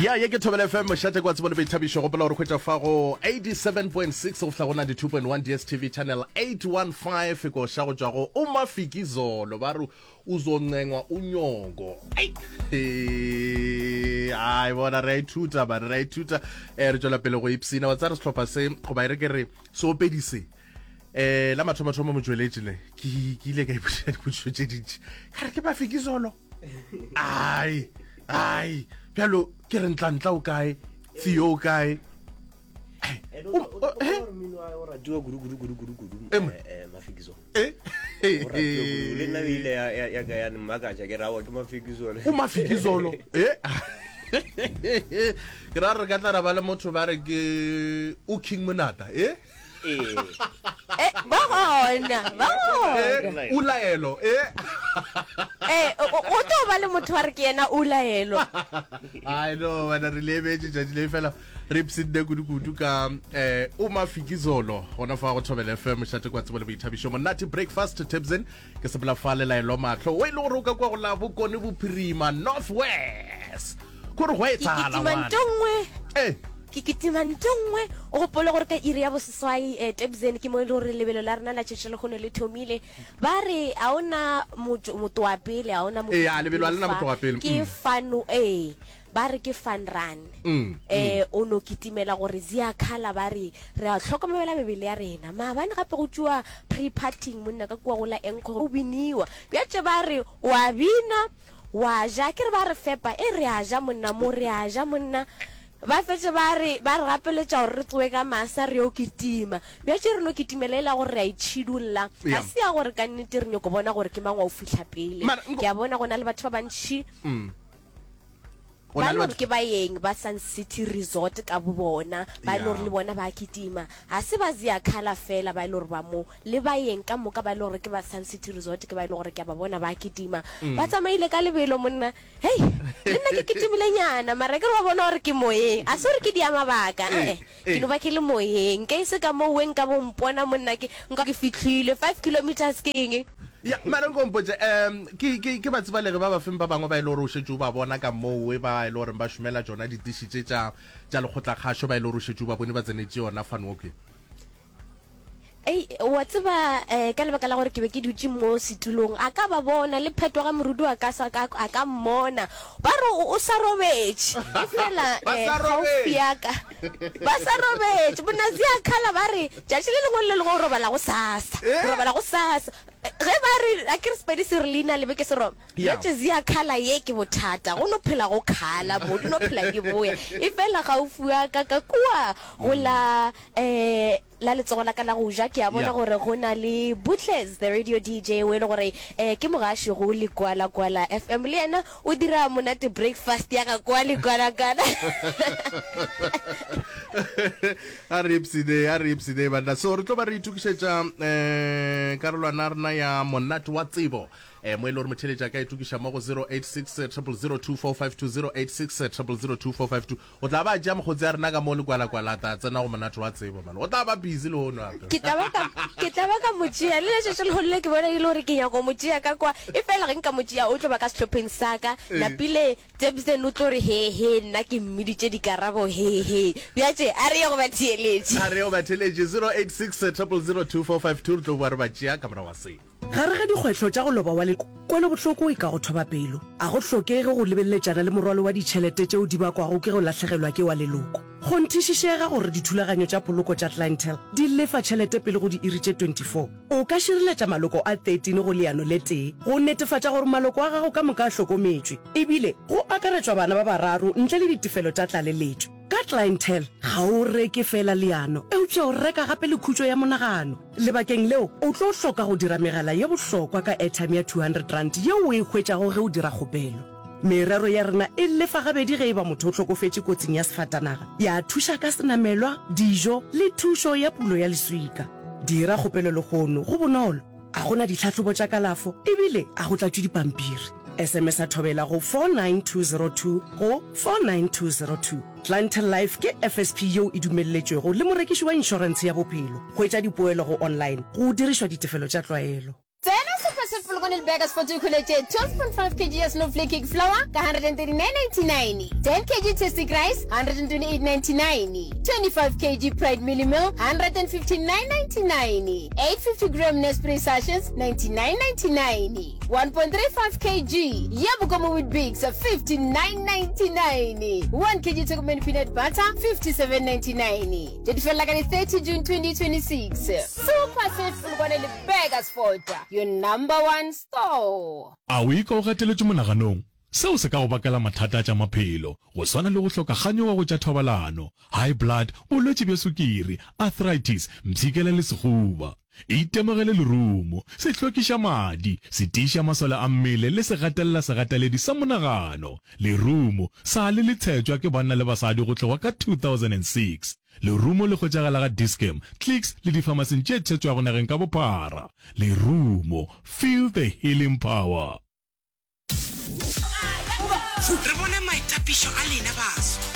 Ya, ye ke Thobela FM, mošate kwa tsebo le boithabišo. Gopola gore hwetša fa go 87.6 go fihla go 92.1 DSTV channel 815 koša go tšwa go Umafikizolo ba re uzoncengwa unyoko. Ai, ai bona re a ithuta bana re a ithuta eh re tšwela pele go ipsina wa tsare sehlopha se goba e re ke re seopedi se eh la mathomathomo motšweletši ne ke ke ile ka ipotšiša dipotšišo tše dintši ka re ke Mafikizolo ai ai bjalo ke re ntlantla o kae theo o kae o ratiwa kudu kudu kudu kudu kudu mafikizolo le nna ile ya ka ya mmakatša ke rawa ke mafikizolo o mafikizolo e ke ra re ka tla ra ba le motho ba re ke o king monata e Ee. Eh, ba gona, ba gona. Eh, o laelo, eh. Eh, o o tlo ba le motho wa re ke yena o laelo. I know, wena re lebetše tšatši le fela re ipshinne kudu-kudu ka eh o mafikizolo gona fa go Thobela FM mošate kwa tsebo le boithabišo monate breakfast Tebsen ke sepela fa le laelo mahlo o e le gore o ka kwa go la bokone bophirima north west Kore go Ke etsagala kitima ngwana. nto nngwe. Eh. Ke kitima nto nngwe. O gopole gore ka iri ya boseswai eh, Tebzen ke mo e le gore lebelo la rena la tšatši la lehono le thomile. Ba re a o na motho motho wa pele, a o na Ee, a lebelo a lena fa. motho wa pele. Ke Mm. fun ee. Ba re ke fun run. Mm, Eh, o no kitimela gore Ziakhala ba re re a hlokomela mebele ya rena. Maabane gape go tšwa pre-partying monna ka kua go la Enco go biniwa. Bjatše ba re wa bina Wa ja, ke re ba re fepa, e re a ja monna mo, re a ja monna. Ba fetše ba re, ba re gapeletša gore re tsowe ka masa re yo kitima. Bjatše re no kitimela e la gore re a itšhidulla. Ga Yeah. se ya gore ka nnete re nyoko bona gore ke mang wa go fihla pele. Mara nko Ke a bona go na le batho ba bantši Mm. Go ba na e le le gore batho ke baeng ba Sun City Resort ka bobona, ba e le gore Yeah. le bona ba a kitima. Ga se ba Ziakhala fela ba e le gore ba mo, Le baeng ka moka ba e le gore ke ba Sun City Resort ke ba e le gore ke a ba bona ba kitima. Ba tsamaile ka lebelo monna. Hei, le nna ke kitimilenyana mara ke re wa bona gore ke moyeng. A se gore ke dia mabaka, ee. Ke no ba ke le moyeng. Nke e se ka moo we nka bo mpona monna ke nka ke fihlile. Five kilometres ke eng? Ya, mara nko mpotše, um ke, ke, ke batsebalegi ba bafeng ba bangwe ba e le gore o šetše o ba bona ka moo we ba e le goreng ba šomela tšona ditiši tše tša, tša lekgotlakgašo ba e le gore o šetše o ba bone ba tsenetše yona fun walk ye? Ei, wa tseba, eh, ka lebaka la gore ke be ke dutše mo setulong, a ka ba bona, le Phetwa ga Morudu a ka sa ka, a ka mmona. Ba re o, o sa robetše. Efela, Ba eh, sa kgaufsi robetše. ya ka, ba sa robetše. Bonazi a khala ba re, tšatši le lengwe le le lengwe o robala gosasa, o Eh? robala gosasa. Ge ba re, akere Sepedi se re leina lebe ke Seroma? Yeah. Bjatše zia khala ye ke bothata, go no phela go khala mo, di no phela di boya. Efela kgaufsi ya ka, ka kua go la, eh, La letsogo la ka la go ja ke a bona Yeah. gore go na le Butles the radio DJ o e le gore eh, ke mogaši go Ligwalagwala FM le yena o dira monate breakfast ya ga kwa Ligwalagwala. A re ipsine, a re ipsine banna. So re tlo ba re itokišetša eh karolwana ya rena ya monate wa tsebo. Eh mo e le gore motheletši a ka itokiša mo go 086 000 2452 086 000 2452. O tla ba a tšea mokgotsi a rena ka mo lekwalakwala a tla tsena go monate wa tsebo man. O tla ba busy lehono gape. Ke tla ba ka, ke tla ba ka mo tšea. Le letšatši lehono le ke bona e le gore ke nyaka go mo tšea ka kwa. Efela ge nka mo tšea o tlo ba ka sehlopheng sa ka. Napile Jebsen o tlo re he he nna ke mmiditše dikarabo he he. Bjatše a re ye go batheeletši. A re ye go batheeletši 086 000 2452 re tlo boa re ba tšea ka morago ga se. Gare ga dikgwetlho tša go loba wa leloko, kwelobohloko e ka go thoba pelo. A go hlokege go lebeletšana le morwalo wa ditšhelete tšeo di bakwago ke go lahlegelwa ke wa leloko. Kgonthišišega gore dithulaganyo tša poloko tša Clientele di lefa tšhelete pele go diiri tše 24. O ka šireletša maloko a 13 go leano le tee go netefatša gore maloko a gago ka moka a hlokometšwe, ebile go akaretšwa bana ba bararo ntle le ditefelo tša tlaleletšo. Ka Clientele, ga o reke feela leano, eupša o reka gape le khutšo ya monagano. Lebakeng leo, o tlo hloka go dira megala ye bohlokwa ka airtime ya R200 yeo o e hwetšago ge o dira kgopelo. Merero ya rena e lefa gabedi ge e ba motho o hlokofetše kotsing ya sefatanaga, ya thuša ka senamelwa, dijo le thušo ya pulo ya leswika. Dira kgopelo lehono, go bonolo, ga go na ditlhahlobo tša kalafo ebile ga go tlatšwe dipampiri. SMS-a Thobela go 49202 go 49202. Clientele Life ke FSP yeo e dumelletšwego le morekiši wa inšorentshe ya bophelo. Hwetša dipoelo go online go dirišwa ditefelo tša tlwaelo. Tsena sehlopha se. Polokwane le Burgersfort o ikhweletše 12.5 kg ya Snowflake cake flour ka 139.99, 10 kg Tastic rice 128.99, 25 kg Pride Mealie Meal 159.99, 850 gram Nespray sachets 99.99, 1.35 kg ya Bokomo Weet-Bix 59.99, 1 kg Turkmen peanut butter 57.99. Tše di felela ka di 30 June 2026. Super Save Polokwane le Burgersfort, your number one store. A o ikwa o gateletšwe monaganong? Seo se ka go bakela mathata a tša maphelo, go swana le go hloka kganyogo go tša thobalano, high blood, bolwetši bja sukiri, arthritis, mpshikela le sehuba. Itemogele lerumo, se hlwekiša madi, se tiiša masole a mmele le se gatelela segateledi sa monagano. Lerumo sa le le tshetšwa ke banna le basadi go tloga ka 2006. Lerumo le hwetšagala ga Dis-Chem, Clicks le difamasing tše tshetšwago nageng ka bophara. Lerumo, feel the healing power. Re bone maitapišo a lena baswa.